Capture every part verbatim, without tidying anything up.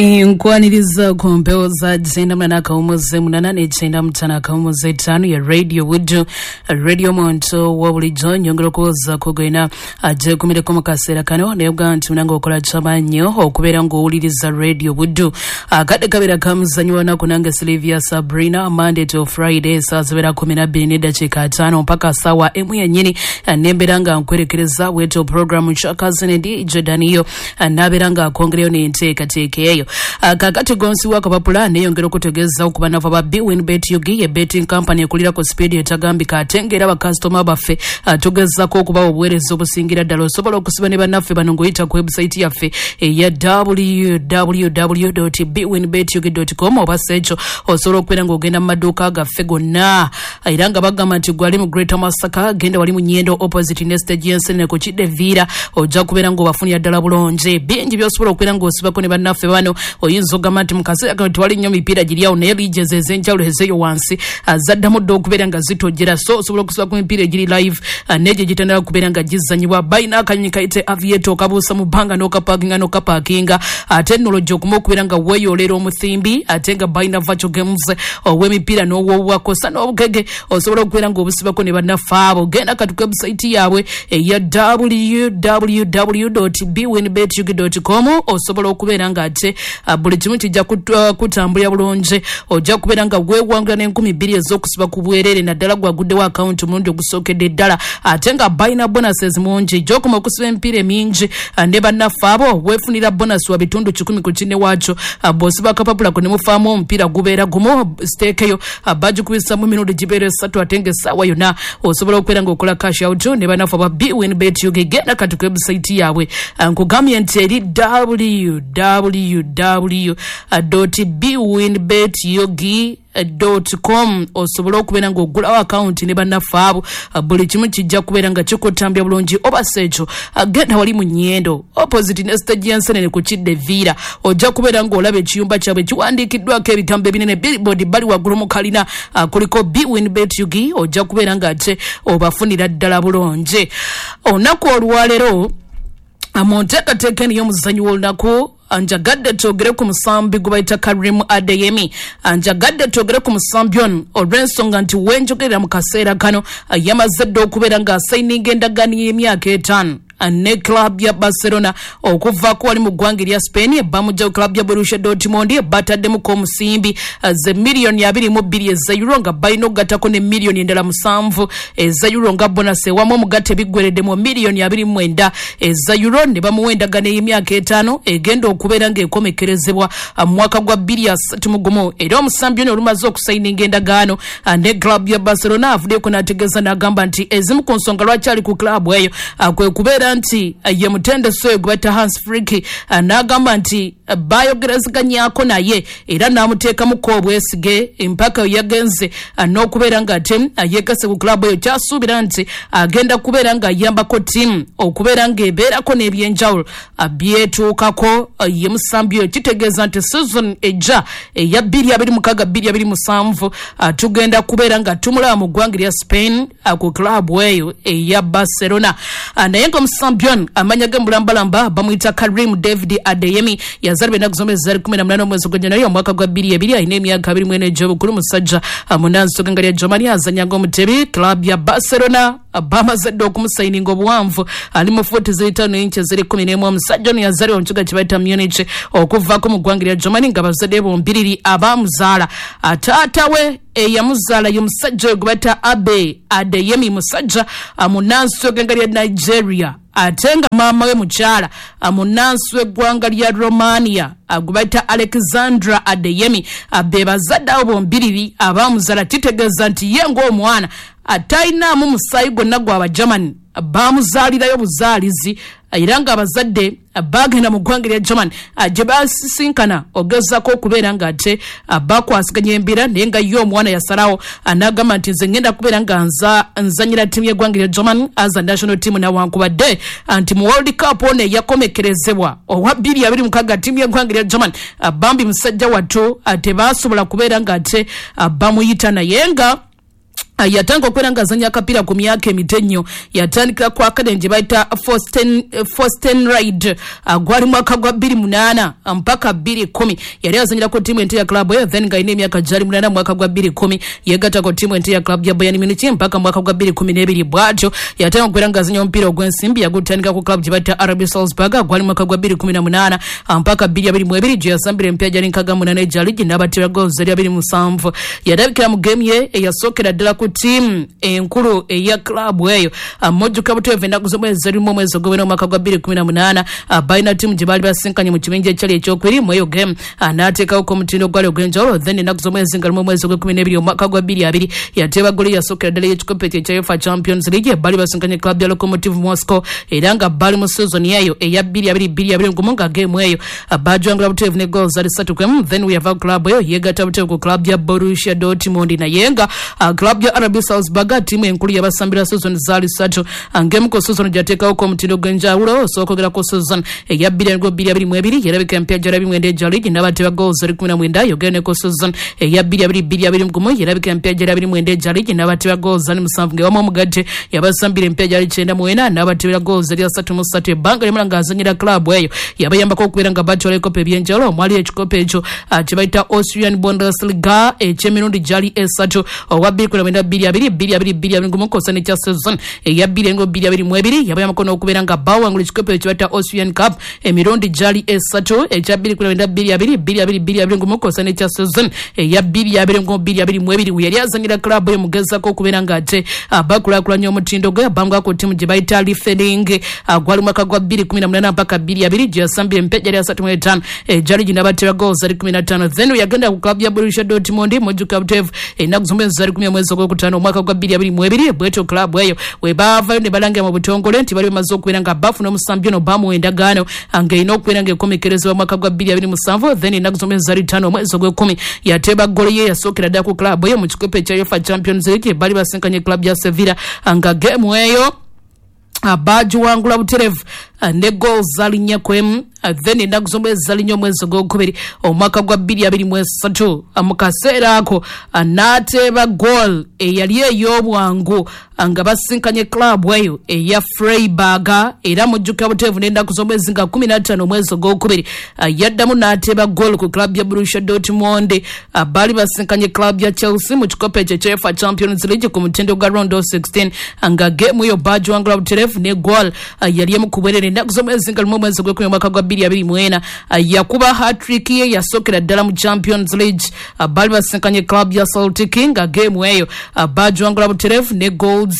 Nkwaniriza ku mpewo za kyenda munana akawumuze munana n'ekyenda mutaano akawumuze etaano ya Radio Buddu, radio muntu wa bulijjo. Nyongera okuwoza kugwena agyegumireko mu kaseera kano, naye oga nti munange okola kyamaanyi okubeera ng'owuliriza Radio Buddu. Akadde kabeera kamuzanyo wanaku nange Sylvia Sabrina, Monday to Friday saa zibeera kumi na bbiri n'eddakiika ataano mpaka saawa emu yennyini, nembeera nga nkwerekereza bwetyo programu Kyakazinedi Jordaniyo nabeera nga akongereyo n'enteekateeka eyo. Kakati gonsi wakapapula neyongera okutegeeza okuba nava ba Bwinbet U G ye betting company ekulira ku speed etagambika, ate ng'era bakasitoma baffe tugezaako okubawa obuweereza obusingira ddala. Osobola okusiba ne bannaffe bano ng'oyita ku website yaffe eya w w w bwinbet u g com, oba si ekyo osobola okubeera ng'ogenda mu maduuka gaffe gonna, era nga bagamba nti gwali mu Greater Masaka, genda wali mu Nyendo opposite ne stage y'ensenene ku kidde Viira, ojja kubeera ng'obafunira ddala bulungi. Bingi by'osobola okubeera ng'osibako ne bannaffe bano. Oyinza okugamba nti mu kaseera kano tewali nnyo mipiira giri awo, naye liigizi ez'enjawulo ezeeyo wansi zaddamu dda okubeera nga zitojjera, so osobola okusiba ku mipiira egiri live n'egyo egitandika kubeera nga gizanyibwa. Balina akanyonyi kayite Aviator, okabuusa mu bbanga n'okapaakinga n'okapaakinga, ate nno lojja okuma okubeera nga weeyoolera omuthimbi, ate nga balina virtual games ow'emipiira n'ow'obwakosa n'obugege, osobola okubeera ng'obusibako ne bannaffe abo. Genda kati ku website yaabwe eya w w w bwinbet u g com, osobola okubeera ng'ate buli kimu kijja kutambulira bulungi. Ojja kubeera nga weewangula n'enkumi bbiri ez'okusiba ku bwereere, naddala gwaguddewo akawunti omulundi ogusookedde ddala, ate nga balina bonuses mungi. Gy'okoma okusiba emipiira emingi ne bannaffe abo, weefunira bonus wa bitundu kikumi ku kinne waakyo. Bw'osiba akapapula ko ne mufaamu omupiira gubeera gumu, siteekeyo bagikubisamu emirundi gibeera esatu, ate ng'essaawa yonna osobola okubeera ng'okola cash out ne bannaffe aba Bwinbet U G. Genda kati ku website yaabwe, nkugambye nti eri w w w bwinbet u g com, osobole okubeera ng'oggulawo akawunti ne bannaffe abo, buli kimu kijja kubeera nga kikutambya bulungi. Oba si ekyo, genda wali mu Nyendo opposite ne stage y'ensenene ku kidde Viira, ojja kubeera ng'olaba ekiyumba kyabwe kiwandiikiddwako ebigambo ebinene, billboard bali waggulu mu kalina, kuliko Bwinbet U G, ojja kubeera ng'ate obafunira ddala bulungi. Olunaku olwaleero mu nteekateeka eno y'omuzannyi w'olunaku, njagadde twogere ku musambi gwe bayita Karim Adeyemi. Njagadde twogere ku musambi ono olw'ensonga nti wenjogerera mu kaseera kano yamaze dda okubeera ng'asayininga endagaano y'emyaka etaano ne club ya Barcelona okuvaako wali mu ggwanga erya Spain. Bamugja club ya Borussia Dortmund, bataddemuko omusimbi ze miliyoni abiri mu bbiri eza euro, nga balina okugattako ne miliyoni endala musanvu eza euro nga bonus, ewamu omugatte biggweredde mu miliyoni abiri mu mwenda eza euro, ne bamuwa endagaano ey'emyaka etaano egenda okubeera ng'ekomekerezebwa mu mwaka gwa bbiri asatu mu gumu. Era omusambi ono olumaze okusayininga endagaano ne club ya Barcelona, avuddeko n'ategeeza n'agamba nti ezimu ku nsonga lwaki ali ku club eyo kwe kubeera nti ye mutendesi oyo gwe bayita Hans Flick, n'agamba nti bayogerezeganyako naye era n'amuteekamuko obwesige mpaka yagenze n'okubeera ng'ate yeegase ku club eyo. Kyasuubira nti agenda kubeera ng'ayambako ttiimu okubeera ng'ebeerako n'ebyenjawulo byetuukako. Ye musambi oyo, kitegeeza nti season ejja eya bbiri abiri mukaaga bbiri abiri musanvu tugenda kubeera nga tumulaba mu ggwanga erya Spain ku club eyo eya Barcelona. Naye nga omusambi ono amanya ge mulambalamba bamuyita Karim David Adeyemi, yazaalibwa ennaku z'omwezi zali kumi na munaana omwezi gwa January omwaka gwa bbiri ebiri, alina emyaka abiri mu ena egy'obukulu, musajja munansi w'eggwanga lya Germany, azannya ng'omutebi. Club ya Barcelona bamaze dda okumusayininga obuwanvu ali mu fuuti ziri ttaano inchi ziri kumi n'emu. Omusajja ono yazaalibwa mu kibuga kye bayita Munich okuvaako mu ggwanga lya Germany, nga bazadde bombiriri abamuzaala, taata we eyamuzaala ye musajja oyo gwe bayita Abe Adeyemi, musajja munansi w'eggwanga lya Nigeria, ate nga maama we mukyala munansi w'eggwanga lya Romania gwe bayita Alexandra Adeyemi. Be bazadde abo bombiriri abamuzaala. Kitegeeza nti ye ng'omwana atalinaamu musaayi gwonna gwa Bagermany, bamuzaalirayo buzaalizi, era ng'abazadde bagenda mu ggwanga lya Germany gye basisinkana ogezaako okubeera ng'ate bakwasiganya embeera, naye nga ye omwana yasalawo n'agamba nti nze ngenda kubeera nga nza nzanyira ttiimu y'eggwanga lya Germany as a national team, nawankubadde nti mu World Cup ono eyakomekerezebwa owa bbiri abiri mukaaga, ttiimu y'eggwanga lya Germany bambi musajja wattu tebasobola kubeera ng'ate bamuyita, naye nga Yatandika okubeera ng'azannya akapiira ku myaka emito ennyo. Yatandikira ku academy gye bayita Forsten, Forstenried. Gwali mwaka gwa bbiri munaana mpaka bbiri kumi. Yali azannyira ku ttiimu ento ya club eyo, then ng'alina emyaka gyali munaana mwaka gwa bbiri kumi yeegatta ku ttiimu ento ya club ya Bayern Munich mpaka mwaka gwa bbiri kumi n'ebiri. Bw'atyo yatandika okubeera ng'azannya omupiira ogw'ensimbi, yagutandika ku club gye bayita R B Salzburg. Gwali mwaka gwa bbiri kumi na munaana mpaka bbiri abiri mu ebiri gye yasambira emipiira gyali nkaaga munaana egya liigi n'abatera goals eri abiri musanvu. Yalabikira mu game ye eyasookera ddala ku ttiimu enkulu eya club eyo. Mojjuka buteevu ennaku z'omwezi erimu omwezi ogw'ebina omwaka gwa bbiri kumi na munaana, balina ttiimu gye baali basinkanye mu kibinja ekyali ekyokubiri mu eyo game, n'ateekawoko omutindo ogwali ogw'enjawulo. Then ennaku z'omwezi nga lumu omwezi ogw'ekkumi n'ebiri omwaka gwa bbiri abiri yateeba ggolo eyasookera ddala ey'ekikopo ekyo ekya UEFA Champions League. Baali basinkanye club ya Lokomotiv Moscow era nga baali mu season eyo eya bbiri abiri bbiri abiri gumu nga game eyo baajwangula buteevu ne goals zali ssatu ku emu. Then weyava club eyo yeegatta buteevu ku club ya Borussia Dortmund, naye nga club ya R B Salzburg ttiimu enkulu yabasambira season zaali ssatu. Ng'emu ku season gyateekawo omutindo gw'enjawulo osooka ogera ku season eya bbiri abiri abiri mu ebiri yerabika emipiira gyali mwenda egya liigi n'abateeba goals eri kumi na mwenda. Yogera ne ku season eya bbiri abiri bbiri abiri mu gumu yerabika emipiira gyali abiri mwenda egya liigi n'abateeba goals ali musanvu, ng'ewamu omugatte yabasambira emipiira gyali kyenda mu ena n'abateebera goals eri asatu mu ssatu. Ebbanga lyamala ng'azannyira club eyo yabayambako okubeera nga batwala ebikopo eby'enjawulo omwali ekikopo ekyo kye bayita Austrian Bundesliga eky'emirundi gyali esatu owa bbiri kumi na mwenda bbiri abiri bbiri abiri bbiri abiri gumu kwossa n'ekya season eya bbiri engo bbiri abiri mu ebiri yabayambako n'okubeera nga bawangula ekikopo ekyo bayita Austrian Cup emirundi gyali esatu ekya bbiri kumi na mwenda bbiri abiri bbiri abiri bbiri abiri gumu kwossa n'ekya season eya bbiri abiri ngo bbiri abiri mu ebiri. Yali azannyira club eyo mugezaako okubeera ng'ate bakulaakulanya omutindo gwe bangwako ttiimu gye bayita Liefering. Gwali mwaka gwa bbiri kumi na munaana mpaka bbiri abiri gye yasambira emipiira gyali asatu mu etaano egyali ginabatera goals ali kumi na ttaano. Then yagenda ku club ya Borussia Dortmund mujjuka buteevu ennaku z'omwezi zali kumi omwezi ogwokutaano omwaka gwa bbiri abiri mu ebiri. Bwetyo club eyo we baavayo ne balangira mu butongole nti bali bamaze okubeera nga bafuna omusambi ono bamuwa endagaano ng'erina okubeera ng'ekomekerezebwa mwaka gwa bbiri abiri musanvu. Then ennaku z'omwezi zali ttaano omwezi ogw'ekkumi yateeba ggolo ye yasookera ddala ku club eyo mu kikopo ekya UEFA Champions League. Bali basinkanye club ya Sevilla nga game eyo bagiwangula buterevu ne goals zali nnya ku emu. Then ennaku z'omwezi zali nnya omwezi ogwokubiri omwaka gwa bbiri abiri mu esatu mu kaseera ako n'ateeba goal eyali ey'obwangu nga basinkanye club eyo eya Freiburg. Era mujjukira buteevu n'ennaku z'omwezi nga kumi na ttaano omwezi ogwokubiri yaddamu n'ateeba goal ku club ya Borussia Dortmund. Baali basinkanye club ya Chelsea mu kikopo ekyo ekya UEFA Champions League ku mutindo gwa round of sixteen nga game eyo bagiwangula butereevu ne goal yali emu ku bwerere. Ennaku z'omwezi nga lumu omwezi ogw'ekkumi omwaka gwa bbiri abiri mu ena yakuba hat-trick ye yasookera ddala mu Champions League. Baali basinkanye club ya Celtic nga game eyo bagiwangula butereevu ne goals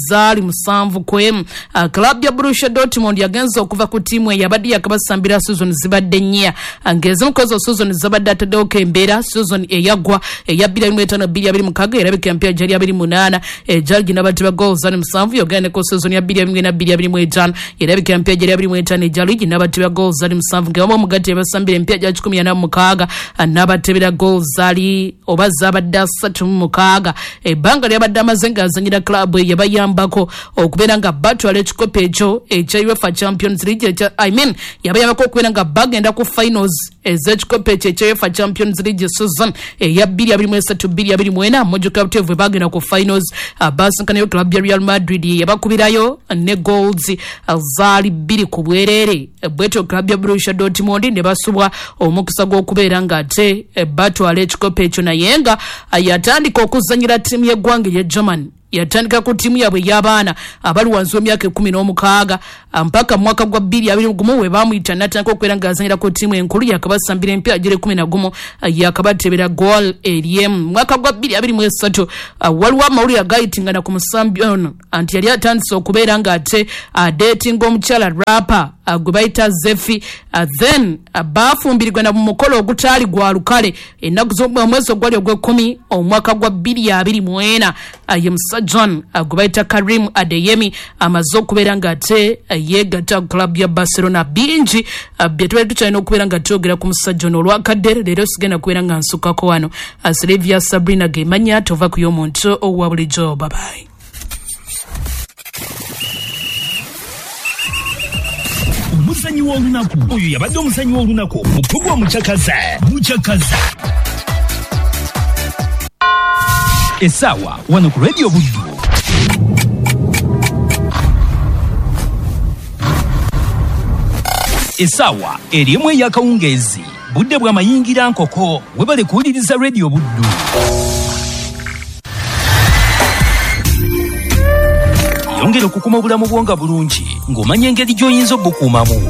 zaali musanvu ku emu. Club ya Borussia Dortmund yagenze okuva ku ttiimu eyo yabadde yakabasambira season zibadde nnya, ng'ezimu ku ezo season zabadde ataddewoko embeera. Season eyaggwa eya bbiri abiri mu etaano bbiri abiri mukaaga erabika emipiira gyali abiri munaana egyali ginabatibwa goals zaali musanvu. Yogera ne ku season ya bbiri abiri mu ena bbiri abiri mu etaano erabika emipiira gyali abiri mu etaano egyali ginabatibwa goals zaali musanvu, ng'ewamu omugatte yabasambira emipiira gya kikumi ana mu mukaaga n'abatebera goals zaali oba zabadde asatu mu mukaaga. Ebbanga lyabadde amaze ng'azannyira club eyo yabayambako okubeera nga batwala ekikopo ekyo ekya UEFA Champions League ekya, I mean yabayambako okubeera nga bagenda ku finals ez'ekikopo ekyo ekya UEFA Champions League season eya bbiri abiri mu esatu bbiri abiri mu ena. Mujjuka buteevu bwe bagenda ku finals basinkanayo club ya Real Madrid yabakubirayo ne goals zaali bbiri ku bwereere. Bwetyo club ya Borussia Dortmund ne basubwa omukisa gw'okubeera ng'ate batwala ekikopo ekyo, naye nga yatandika okuzannyira ttiimu y'eggwanga erya Germany. Yatandika ku ttiimu yaabwe ey'abaana abali wansi w'emyaka ekkumi n'omukaaga mpaka mwaka gwa bbiri abiri gumu we baamuyita n'atandika okubeera ng'azannyira ku ttiimu enkulu. Yakabasambira emipiira giri ekkumi na gumu yakabatebera goal eryemu. Mwaka gwa bbiri abiri mu esatu waliwo amawulire agayitingana ku musambi ono anti yali atandise okubeera ng'ate adeetinga omukyala rapper gwe bayita Zefi. Then baafumbirirwa na mu mukolo ogutaali gwa lukale ennaku z'omwezi ogwali ogw'ekkumi omwaka gwa bbiri abiri mu ena. Ye musajja ono gwe bayita Karim Adeyemi amaze okubeera ng'ate yeegatta ku club ya Barcelona. Bingi bye tubadde tukyalina okubeera nga twogera ku musajja ono olwakadde leero sigenda kubeera nga nsukako wano. Silvia Sabrina gemanya tova ku y'omuntu owa bulijjo. Bye-bye. Omuzanyi w'olunaku oyo yabadde omuzanyi w'olunaku mu pulogulaamu Muchakaza Muchakaza. Essaawa wano ku Radio Buddu. Essaawa eri emu ey'akawungeezi, budde bwa mayingira nkoko. Webale kuwuliriza Radio Buddu. Yongera okukuma obulamu bwo nga bulungi ng'omanya engeri gy'oyinza obukuumamu.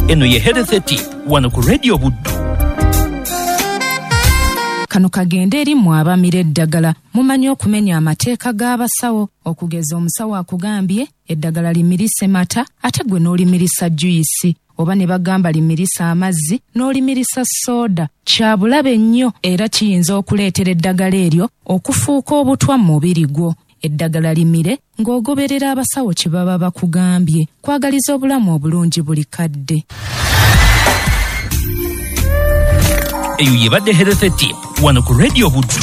Eno ye Health Tip wano ku Radio Buddu. Kano kagende eri mmwe abamira eddagala. Mumanyi okumenya amateeka g'abasawo. Okugeza omusawo akugambye eddagala limirise mata, ate gwe n'olimirisa juyisi, oba ne bagamba limirisa amazzi n'olimirisa soda. Kya bulabe nnyo era kiyinza okuleetera eddagala eryo okufuuka obutwa mu mubiri gwo. Eddagala limire ng'ogoberera abasawo kye baba bakugambye. Kwagaliza obulamu obulungi buli kadde. Eyo yebadde Health Tip wano ku Radio Buddu.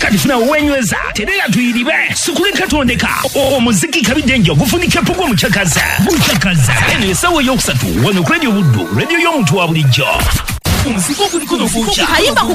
Kati funa wenyweza terera tuyiribe sikuleka tondeka omuziki kabidde ogufunika pugwa mucakaza mucakaza. Eno essaawa eyokusatu wano ku Radio Buddu, radio y'omuntu wa bulijjo. Omuziki oguliko nofuuca kayimba ku